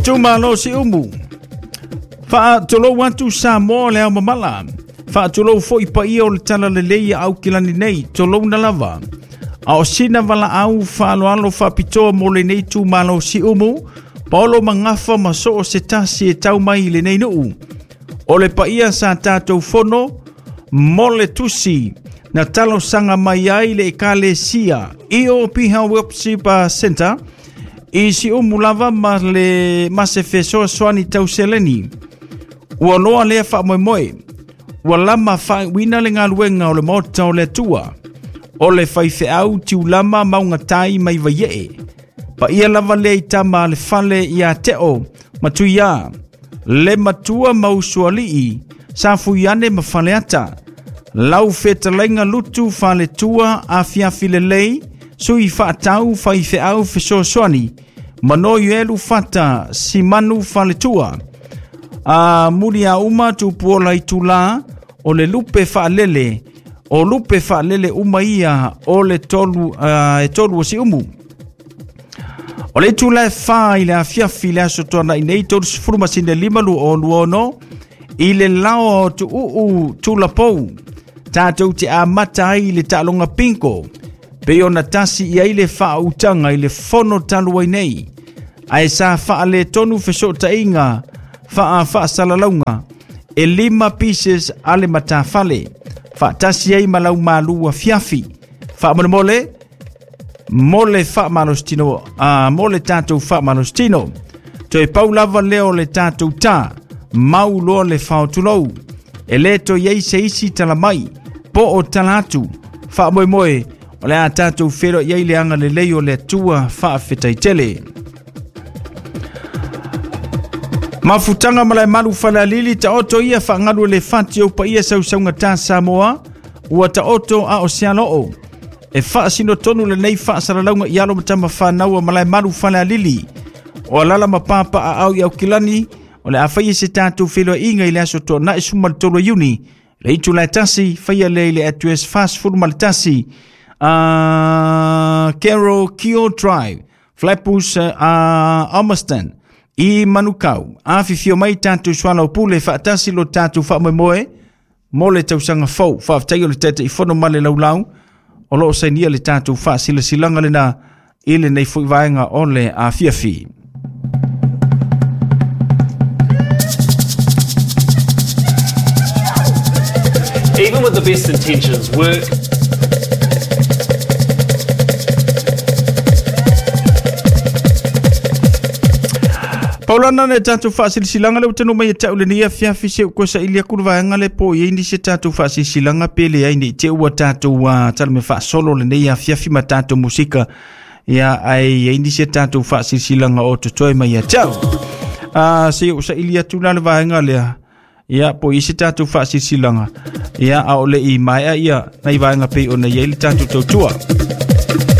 Itumalo Siumu. Faatulou atu Samoa le ao mamala. Faatulou foi paia o le talalelei ia Aukilani nei, tolouna lava. A o sina valaau faaaloalo faapitoa mo lenei itumalo Siumu, paolo magafa ma soo se tasi e tau mai i lenei nuu. O le paia sa tatou fono mo le tusi na talosaga mai ai le ekalesia EOP Worship Center i Siumu lava ma le ma se fesoasoani tau seleni. Ua loa lea faamoemoe, ua lama faaiuina le galuega o le Maota o le Atua. O le faifeau tiulama maugatai mai Vaiee. Paia lava lea i tama a le fale ia Teo ma Tuiā, le matua ma usoalii, Safuiane ma Faleata. Lau fetalaiga Lutu Faletua afiafi lelei, sui faatau faifeau fesoasoani, Manoielu Fata Simanu Faletua. A Muliauma Tupuola Itulā, o le lupe faalele, o lupe faalele uma ia o le tolu, e tolu o Siumu. O le itula e 4 i le afiafi le aso tuanai nei 30 masina 5 2026 i le laoa o Tuuu Tulapou. Tatou te amata ai i le taaloga bingo pei ona tasi i ai le faautaga i le fono talu ai nei. Ae sa faaletonu fesootaiga faa-faasalalauga e 5 pieces a le matafale faatasi ai ma lau malu afiafi. Faamolemole mo le faamalositino, mo le tatou faamalositino. Toe pau lava lea o le tatou tā, mau loa le faotulou. E le toe i ai se isi tala mai, po o tala atu. Faamoemoe, o le a tatou feiloai ai le agalelei o le Atua faafetai tele. Mafutaga Malaemalu Falealili taoto ia faagalu e le fati o paia sausaugata Samoa, ua taoto a o se aloo. E faasino tonu lenei faasalalauga i alo ma tama whanau a Malaemalu Falealili. O alala ma papa a au i Aukilani, o le a faia se tatou feiloaiga i le aso tuanai 13 Iuni. Le itula e 1, faia lea i le address 41, Carol Kio Drive, Flatbush, Ormiston, i Manukau. Afifio mai tatou soalaupule faatasi lo tatou faamoemoe mo le tausaga fou. Faafetai o le Taitaifono ma le laulau o loo sainia le tatou faasilasilaga lena i lenei foi vaega o le afiafi. Even with the best intentions, work Paulana le tatou faasilasilaga le ua tanu mai e tau lenei afiafi se u koe saili atu le vaega le po i ai nisi tatou faasilasilaga pe leai nei te ua tatou tala me faasolo lenei afiafi ma tatou musika ia ae i ai nisi tatou faasilasilaga o totoe mai ia te au. Se u saili atu la le vaega lea ia po i se tatou faasilasilaga ia a o le i maea ia nai vaega pei ona i ai le tatou tautua.